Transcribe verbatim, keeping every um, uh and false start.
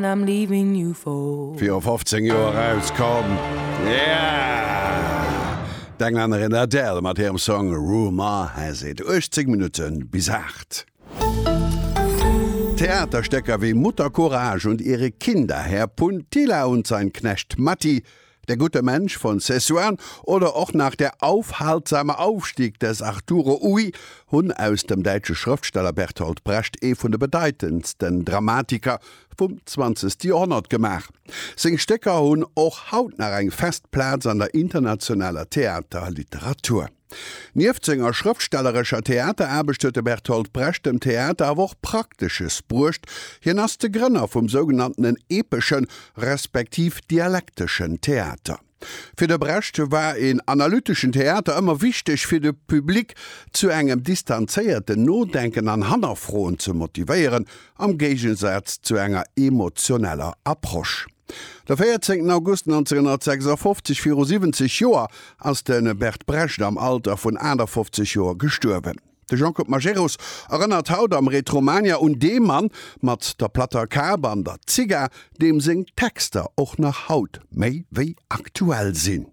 I'm leaving you for. Viru fofzéng Joer erauskomm, yeah! D'Englännerin Adele mat hirem Song Rumour Has It. uechtzéng Minutte bis aacht. Theaterstécker wéi Mutter Courage und ihre Kinder, Herr Puntila und sein Knecht Matti, Der gute Mensch von Szechuan oder och nach Der aufhaltsame Aufstieg des Arturo Ui hunn aus dem däitsche Schrëftsteller Bertolt Brecht ee vun de bedeitendsten Dramatiker vum zwanzegste Joerhonnert gemaach. Seng Stécker hunn och haut nach eng fest Plaz an der internationaler Theaterliteratur. Nieft senger schrëftstellerescher Theateraarbecht huet de Bertolt Brecht dem Theater awer och Praktesches bruecht, Hien ass de Grënner vum sougenanntenen epeschen, respektiv dialekteschen Theater. Fir de Brecht war een analyteschen Theater ëmmer wichteg, fir de Public zu engem distanzéierten Nodenken an Hannerfroen ze motivéieren, am Géigensaz zu enger emotioneller Approche. De véierzéngten August nonzénghonnertsechsafofzeg, viru siwwenzeg Joer, ass de Bert Brecht am Alter vun achtafofzeg Joer gestuerwen. De Jean-Claude Majerus erënnert haut am Retromania un dee Mann mat der platter Kap an der Zigar, deem seng Texter och nach haut méi wéi aktuell sinn.